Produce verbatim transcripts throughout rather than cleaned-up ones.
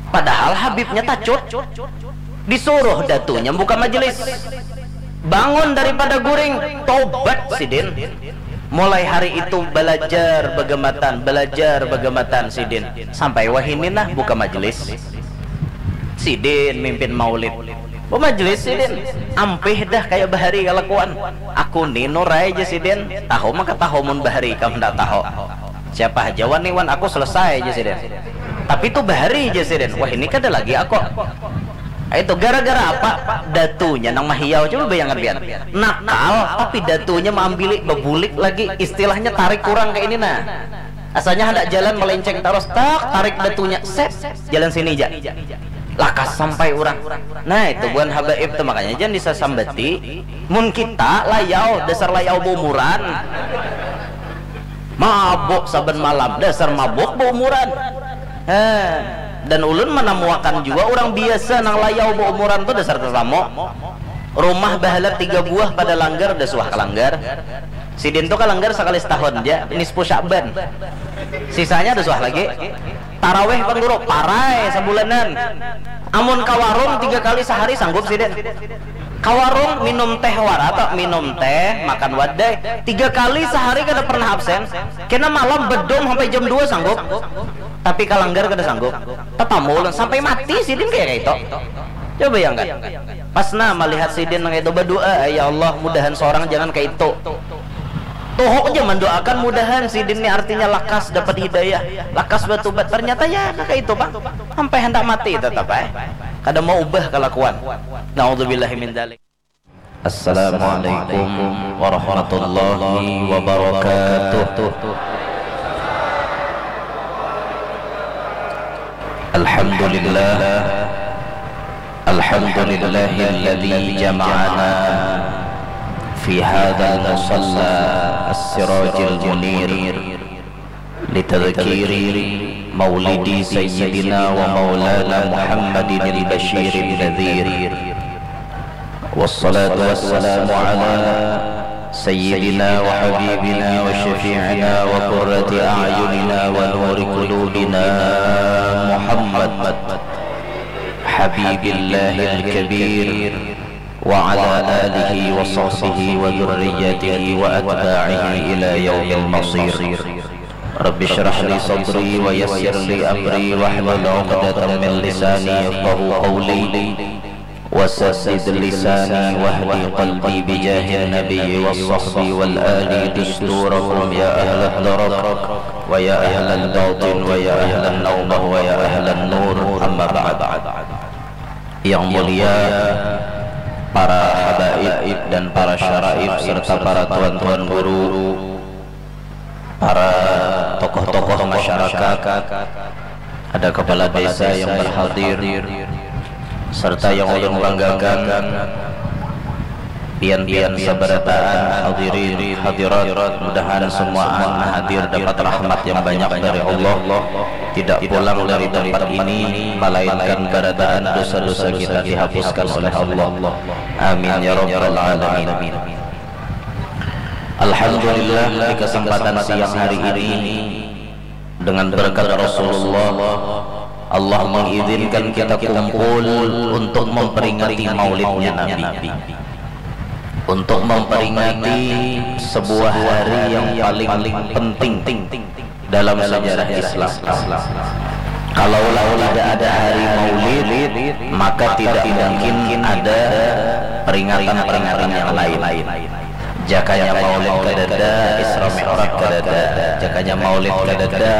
Padahal Habibnya tacut. Disuruh datunya buka majelis. Bangun daripada guring, tobat sidin. Mulai hari itu belajar begematan, belajar begematan sidin. Sampai wahini nah buka majelis. Sidin mimpin maulid. Bemajelis sidin. Ampih dah kaya bahari kalakuan. Aku ni Nurai ja sidin. Tahu maka tahu mun bahari ikam ndak tahu. Siapa haja wani wan aku selesai ja sidin. Tapi tu bahari ja sidin. Wah ini kada lagi aku. Itu gara-gara apa? Datunya nang mahiyau, coba bayangkan pian. Nakal tapi datunya maambili, babulik lagi, istilahnya tarik kurang kayak ini nah. Asalnya hendak jalan melenceng terus, tak tarik datunya, set, jalan sini ja. Lakas sampai urang. Nah itu buhan habaib tuh makanya jangan disasambati. Mun kita layau, dasar layau baumuran. Mabuk saban malam, dasar mabuk baumuran. Heh. Dan ulun manamuakan jua urang biasa nang layau baumuran tu dasar tatamu. Rumah bahalat tiga buah pada langgar, dah suah kalanggar. Sidin tu kalanggar sakali setahun ja, nisfu Sya'ban. Sisanya dah suah lagi. Taraweh pang guru, parai sabulanan. Amun ka warung tiga kali sahari sanggup sidin. Ka warung minum teh wara to, minum teh, makan wadai. Tiga kali sahari kada pernah absen. Kena malam bedum sampai jam dua sanggup. Tapi kalanggar kada sanggup. Tatamu ulun sampai mati sidin kaya kaitu. Coba bayangkan. Pas nah malihat sidin nang itu badua, ya Allah mudahan seorang jangan kaitu. Tuhuk ja mandoakan mudahan sidin ni artinya lakas dapat hidayah, lakas batubat. Ternyata ya kaka itu pang. Sampai handak mati tetap ai. Kada mau ubah kalakuan. Naudzubillahi min dzalik. Assalamualaikum warahmatullahi wabarakatuh. Alhamdulillah. Alhamdulillahilladzi jama'ana fi hadzal musalla as-sirajil munir litadzkiri maulidi sayyidina wa maulana Muhammadinil basyirin nadzir. Wassalatu wassalamu ala sayyidina wa habibina wa syafi'ina wa qurrati a'yunina wa nuri qulubina Muhammad habibillahil kabir wa ala alihi wa sahbihi wa dzurriyyatihi wa atba'ihi ila yaumil masir. Rabbi shrah li sadri wa yassir li amri wahlul 'uqdatam min lisani yafqahu qawli. Wasaddid lisani wahdi qalbi bijahin nabiyyi was sahbi wal ali dusturakum ya ahlat darak wa ya ahlal batin wa ya ahlan naubah wa ya ahlan nur, amma ba'd. Yang mulia para habaib dan para syaraif serta para tuan-tuan guru, para tokoh-tokoh masyarakat, ada kepala desa yang berhadir, serta yang ulun banggakan, pian-pian sabarataan hadirin hadirat, mudahan semua anak hadir dapat rahmat yang banyak dari Allah, tidak pulang dari tempat ini melainkan barataan dosa-dosa kita dihapuskan oleh Allah. Amin ya rabbal alamin. Alhamdulillah, di kesempatan siang hari ini, dengan berkat Rasulullah, Allah mengizinkan kita kumpul untuk memperingati maulidnya Nabi, untuk memperingati sebuah hari yang paling penting dalam sejarah Islam. Kalaulah tidak ada hari Maulid, maka tidak mungkin ada peringatan-peringatan yang lain. Jakanya Maulid kadada, Isra Mi'raj kadada, jakanya Maulid kadada,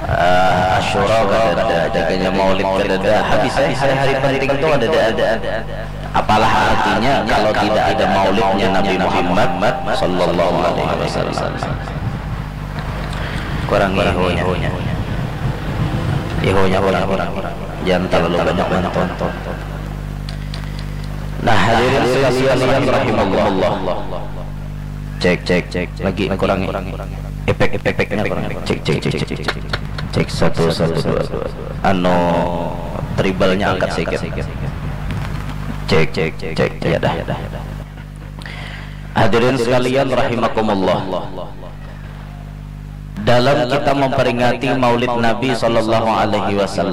eh, Asyura kadada, jakanya Maulid kadada. Habis, eh, hari-hari penting tu kadada. Apalah artinya kalau tidak ada maulidnya Nabi Muhammad sallallahu alaihi wasallam? Kurang ihunya. Ihunya kurang. Jangan terlalu banyak menonton. Nah, hadirin sekalian rahimakumullah. Cek, cek, cek. Lagi kurang. Efek, efek, efeknya kurang. Cek, cek, cek, cek. Cek satu, satu, dua, dua. Anu, tribalnya angkat sedikit. Cek, cek, cek. Ya dah. Hadirin sekalian rahimakumullah. Dalam kita memperingati Maulid Nabi sallallahu alaihi wasallam,